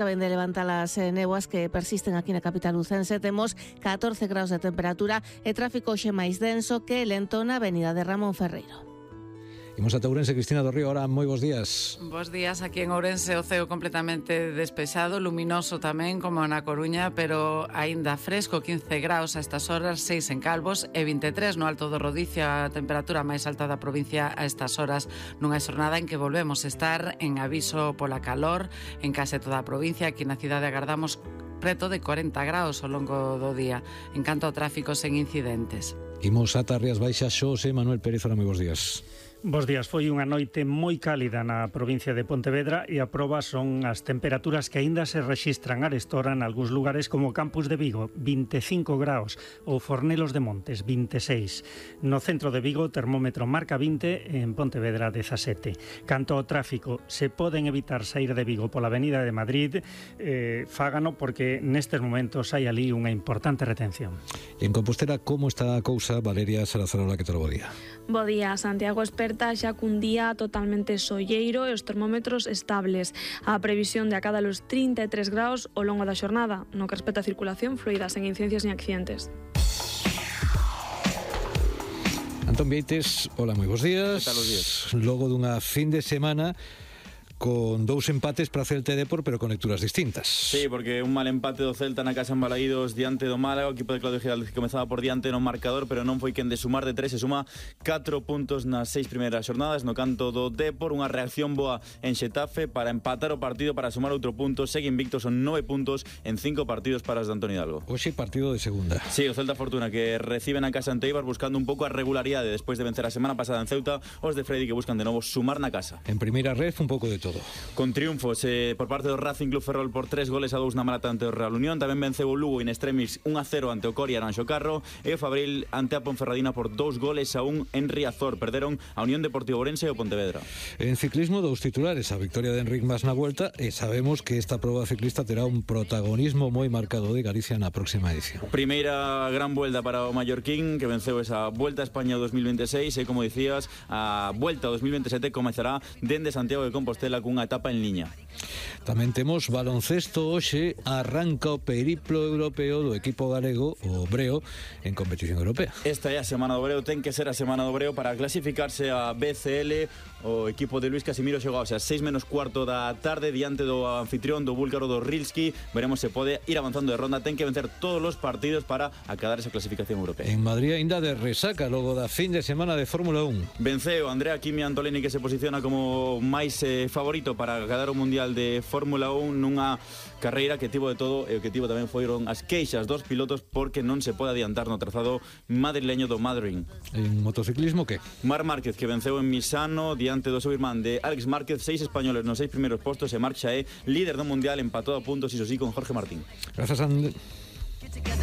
Saben de levantar las néboas que persisten aquí na capital lucense. Temos 14 graus de temperatura e tráfico hoxe máis denso que lento na avenida de Ramón Ferreiro. Imos ata Ourense, Cristina do Río. Ahora, moi bons días. Bos días, aquí en Ourense o ceo completamente despexado, luminoso tamén como na Coruña, pero aínda fresco, 15 graus a estas horas, 6 en Calvos e 23 no Alto do Rodicio, a temperatura máis alta da provincia a estas horas, nunha xornada en que volvemos a estar en aviso pola calor en case toda a provincia. Aquí na cidade agardamos preto de 40 graus ao longo do día, en canto ao tráfico sen incidentes. Imos ata Rías Baixas, Xosé Manuel Pérez. Ora, moi bons días. Bos días, foi unha noite moi cálida na provincia de Pontevedra e a proba son as temperaturas que aínda se rexistran arestora en algúns lugares como o Campus de Vigo, 25 graus, ou Fornelos de Montes, 26. No centro de Vigo o termómetro marca 20 e en Pontevedra 17. Canto ao tráfico, se poden evitar sair de Vigo pola avenida de Madrid, fágano porque nestes momentos hai ali unha importante retención. En Compostela, como está a cousa? Valeria Salazarola, que tal o bo día? Bo día, Santiago esperta xa cun día totalmente solleiro e os termómetros estables. A previsión de acada los 33 graus ao longo da xornada, no que respecta a circulación fluida, sen incidencias ni accidentes. Antón Vieites, hola, moi bons días. Que tal os días? Logo dunha fin de semana con dous empates para Celta e Depor, pero con lecturas distintas. Sí, porque un mal empate do Celta na casa en Balaídos diante do Málaga, o equipo de Claudio Giraldez que comezaba por diante no marcador, pero non foi quen de sumar de 3, se suma 4 puntos nas 6 primeiras xornadas. No canto do Depor, unha reacción boa en Xetafe para empatar o partido, para sumar outro punto. Segue invicto, son 9 puntos en 5 partidos para os de Antonio Hidalgo. Hoxe partido de segunda. Sí, o Celta Fortuna que reciben a casa ante Eibar buscando un pouco a regularidade despois de vencer a semana pasada en Ceuta. Os de Freddy que buscan de novo sumar na casa. En primeira red un pouco de todo. Con triunfos por parte do Racing Club Ferrol por 3 goles a 2 na Malata ante o Real Unión. Tamén venceu o Lugo in extremis 1-0 ante o Coria Aranxo Carro, e o Fabril ante a Ponferradina por 2 goles a 1 en Riazor. Perderon a Unión Deportivo Ourense e o Pontevedra. En ciclismo, dous titulares: a victoria de Enric Mas na Vuelta, e sabemos que esta proba ciclista terá un protagonismo moi marcado de Galicia na próxima edición. Primeira gran vuelta para o mallorquín, que venceu esa Vuelta a España 2026, e como dicías, a Vuelta 2027 comezará dende Santiago de Compostela cunha etapa en liña. Tamén temos baloncesto. Hoxe arranca o periplo europeo do equipo galego, o Breo, en competición europea. Esta é a semana do Breo, ten que ser a semana do Breo para clasificarse a BCL. O equipo de Luis Casimiro xogou a 6 menos cuarto da tarde diante do anfitrión, do búlgaro, do Rilski. Veremos se pode ir avanzando de ronda. Ten que vencer todos os partidos para acadar esa clasificación europea. En Madrid aínda de resaca logo da fin de semana de Fórmula 1. Venceu Andrea Kimi Antolini, que se posiciona como máis favorito para acadar o Mundial de Fórmula 1 nunha carreira que tivo de todo, e o que tivo tamén foron as queixas dos pilotos porque non se pode adiantar no trazado madrileño do Madrid. En motociclismo, que? Marc Márquez, que venceu en Misano diante do seu irmán de Alex Márquez, 6 españoles nos 6 primeiros postos, e Marc xa é líder do Mundial, empatado a puntos, iso sí, con Jorge Martín. Grazas,